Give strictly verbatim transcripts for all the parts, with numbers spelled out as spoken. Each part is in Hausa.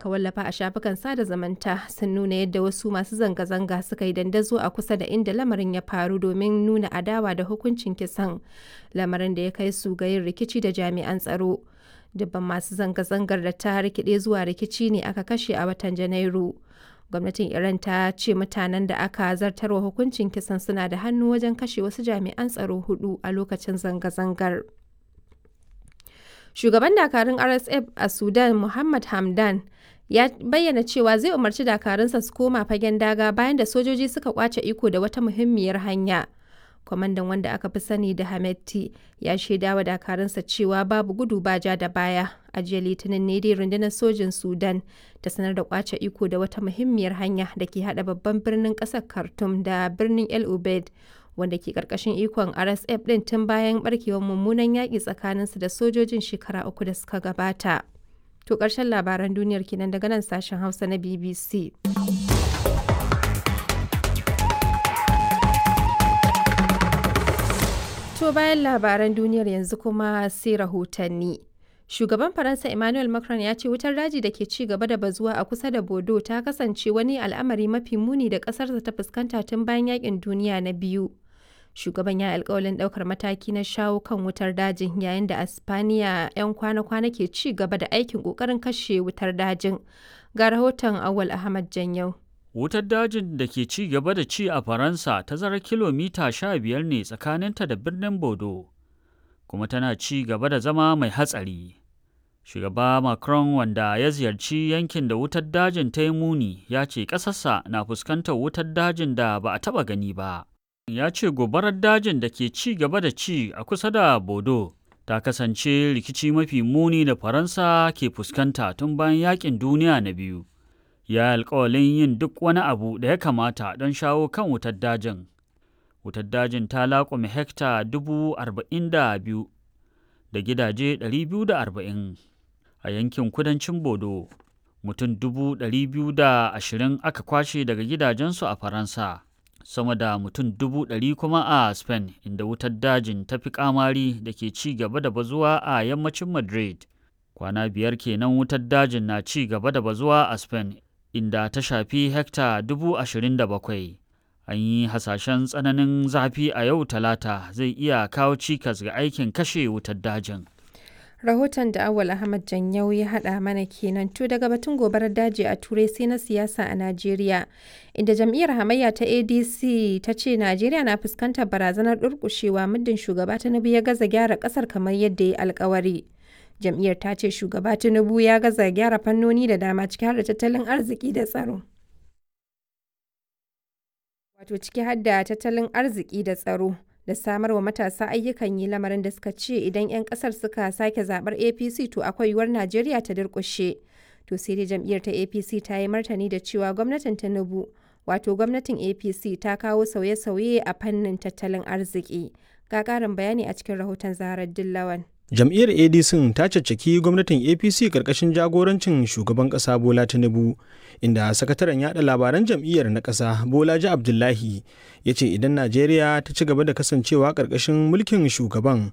aka wallafa a shafukan sada zamanta sun nuna yadda wasu masu zanga-zanga suka yi dandazo a kusa da inda lamarin ya faru domin nuna adawa da hukuncin kisan, lamarin da ya kai su ga yin rikici da jami'an tsaro. Dubban masu zanga-zangar da ta rikide zuwa rikici ne aka kashe a watan Janairu. Gwamnatin Iran ta ce mutanen da aka zartarwa hukuncin kisan suna da hannu wajen kashe wasu jami'an tsaro hudu a lokacin zanga-zangar. Shugaban dakarun R S F a Sudan, Muhammad Hamdan, ya bayyana cewa zai umarci dakarunsa su koma fagen daga bayan da sojoji suka kwace iko da wata muhimmiyar hanya. Kwamandan, wanda aka fi sani da Hameti, ya shaidawa dakarunsa cewa babu gudu ba ja da baya. A jiya Litinin ne dai rundunar sojin Sudan ta sanar da kwace iko da wata muhimmiyar hanya da ke hada babban birnin kasar Khartoum da birnin El Obeid, wanda ke karkashin ikon R S F din tun bayan barkewar mummunan yaƙi tsakaninsu da sojojin shekara uku da suka gabata. To, ƙarshen labaran duniyar kenan daga nan sashen Hausa na B B C. To, bayan labaran duniyar yanzu kuma sai rahotanni. Shugaban Faransa Emmanuel Macron ya ce wutar daji da ke ci gaba da bazuwa a kusa da Bordeaux ta kasance wani al'amari mafi muni da ƙasarsa ta fuskanta tun bayan yakin duniya na biyu. Shugaban ya alkawalin ɗaukar mataki na shawo kan wutar dajin, yayin da a Spaniya 'yan kwana-kwana ke ci gaba da aikin ƙoƙarin kashe wutar dajin. Ga rahoton Awal Ahmad Janyau. Wutar dajin da ke ci gaba da ci a Faransa tazarar kilomita sha biyar ne tsakaninta da birnin Bordeaux, kuma tana ci gaba da zama mai hatsari. Shugaba Macron, wanda ya ziyarci yankin da wutar dajin ta yi muni, ya ce ƙasarsa na fuskantar wutar dajin da ba a taɓa gani ba. Ya ce gobarar dajin da ke ci gaba da ci a kusa da Bordeaux ta kasance rikici mafi muni da Faransa ke fuskanta tun bayan yakin duniya na biyu. Ya alkawalin yin duk wani abu da ya kamata don shawo kan wutar dajin. Wutar dajin ta laƙume hekta dubu arba'in da biyu da gidaje ɗari biyu da arba'in a yankin kudancin Bodo. Mutum dubu ɗari biyu da ashirin aka kwashe daga gidajensu a Faransa, sama da mutum dubu ɗari kuma a Spain, inda wutar dajin ta fi kamari da ke ci gaba da bazuwa a yammacin Madrid. Kwana biyar kenan wutar dajin na ci gaba da bazuwa a Spain, inda ta shafi hekta dubu ashirin da bakwai. An yi hasashen tsananin zafi a yau Talata zai iya kawo cikas ga aikin kashe wutar dajin. Rahoton da Awal Ahmad Janyau ya haɗa mana kenan. To, daga batun gobarar daji a Turai sai na siyasa a Najeriya, inda jam'iyyar hamayya ta A D C ta ce Najeriya na fuskantar barazanar durƙushewa muddin shugaba Tinubu ya gaza gyara ƙasar kamar yadda ya alkawari. Jam'iyyar ta ce shugaba Tinubu ya gaza gyara fannoni da dama, ciki har da tattalin arziki da tsaro. Wato ciki har da tattalin arziki da tsaro da samar wa matasa ayyukan yi, lamarin da suka ce idan 'yan kasar suka sake zabar A P C to akwai yiwuwar Najeriya ta durƙushe. To sai dai jam'iyyar ta A P C ta yi martani da cewa gwamnatin Tinubu, wato gwamnatin A P C, ta kawo sauye-sauye a fannin tattalin arziki. Ga ƙarin bayani a cikin rahoton Zaharar Dillawan. Jam'iyyar A D C ta caccaki gwamnatin A P C karkashin jagorancin shugaban kasa Bola Tinubu, inda sakataren yada labaran jam'iyyar na kasa, Bolaji Abdullahi, ya ce idan Najeriya ta ci gaba da kasancewa karkashin mulkin shugaban,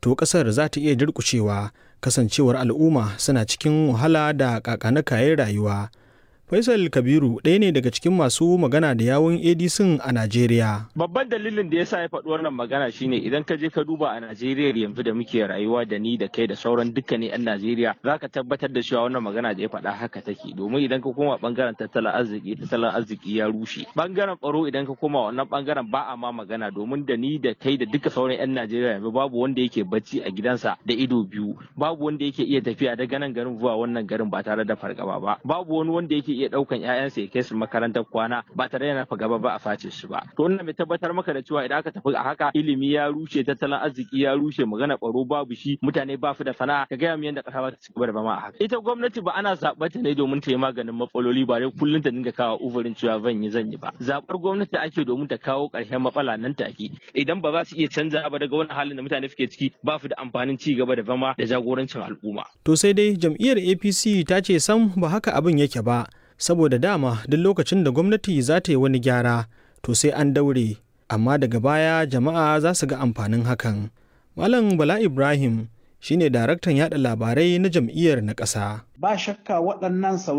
to kasar za ta iya durkushewa, kasancewar al'umma suna cikin wahala da kakanakayen rayuwa. Faisal Kabiru ɗaya ne daga cikin masu magana da yawun A D C a Najeriya. Babban dalilin da ya sa ya faɗi wannan magana shine idan ka je ka duba a Najeriya yanzu da muke rayuwa, da ni da kai da sauran dukkanin 'yan Najeriya, za ka tabbatar da cewa wannan magana da ya faɗa haka take. Domin idan ka koma bangaren tattalin arziki, tattalin arziki ya rushe. Bangaren tsaro, idan ka koma wannan bangaren, ba a ma magana, domin da ni da kai da duka sauran 'yan Najeriya yanzu babu wanda yake bacci a gidansa da ido biyu, babu wanda yake iya tafiya daga nan garin zuwa wannan garin ba tare da fargaba ba, babu wani wanda yake iya daukan ƴaƴansa ya kai su makarantar kwana ba tare da fargaba ba a face su ba. To, wannan mai tabbatar maka da cewa idan aka tafi a haka, ilimi ya rushe, tattalin arziki ya rushe, magana tsaro babu shi, mutane ba su da sana'a, ka gaya mu yadda ƙasa ba ta ci gaba da zama a haka. Ita gwamnati ba ana zaɓar ta ne domin ta yi maganin matsaloli ba dai kullum ta dinga kawo uzurin cewa zan yi, zan yi ba. Zaɓar gwamnati ake domin ta kawo ƙarshen matsala nan take. Idan ba za su iya canza ba daga wannan halin da mutane suke ciki, ba su da amfanin ci gaba da zama da jagorancin al'umma. To sai dai jam'iyyar A P C ta ce sam ba haka abin yake ba, saboda dama duk lokacin da gwamnati za ta yi wani gyara to sai an daure, amma daga baya jama'a za su ga amfanin hakan. Malam Bala Ibrahim shine daraktan yada labarai na jam'iyyar na ƙasa. Ba shakka waɗannan sauye